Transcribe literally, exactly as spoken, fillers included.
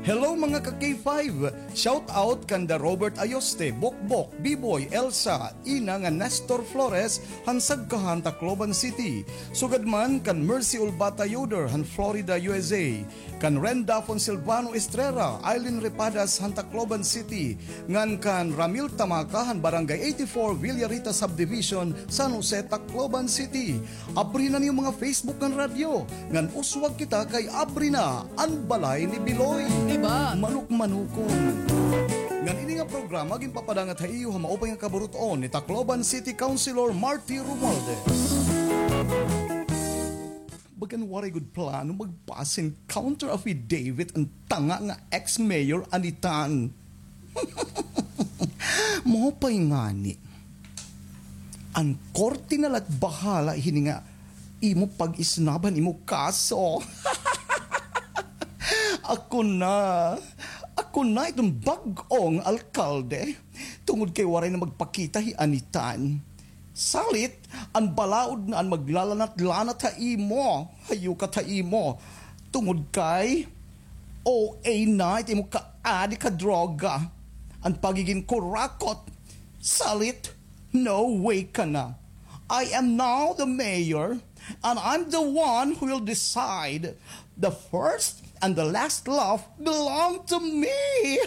Hello, mga ka K five! Shout out kanda Robert Ayoste, Bokbok, Biboy, Elsa, Ina nga Nestor Flores, han Sagkahan, Tacloban City. Sugad man kan Mercy Ulbata Yoder han Florida, U S A. Kan Ren Dafon Silvano Estrera, Eileen Repadas han Tacloban City. Ngan kan Ramil Tamaka han Barangay eighty-four, Villarita Subdivision, San Jose, Tacloban City. Abri na an iyo mga Facebook ngan radyo. Ngan uswag kita kay abri na an balay ni Biloy. Diba? Manukmanukon. Ngan ini nga programa ginpapadangat ha iyo ha maupay nga kaburut-on ni Tacloban City Councilor Marty Romualdez. Bagan waray gud plano magpa-send counter affidavit an tanga nga ex-mayor Anitan. Maupay ngani. An korte na la it bahala hini nga imo pag-isnab han imo kaso. Ako na. Ako na iton bag-ong alkalde. Tungod kay waray na magpakita hi Anitan. Salit, an balaod na an maglalanat-lanat ha imo, hayukat ha imo. Tungod kay O A na it imo kaadik ha droga. An pagigin kurakot. Salit, no way ka na. I am now the mayor, and I'm the one who will decide. The first and the last laugh belong to me.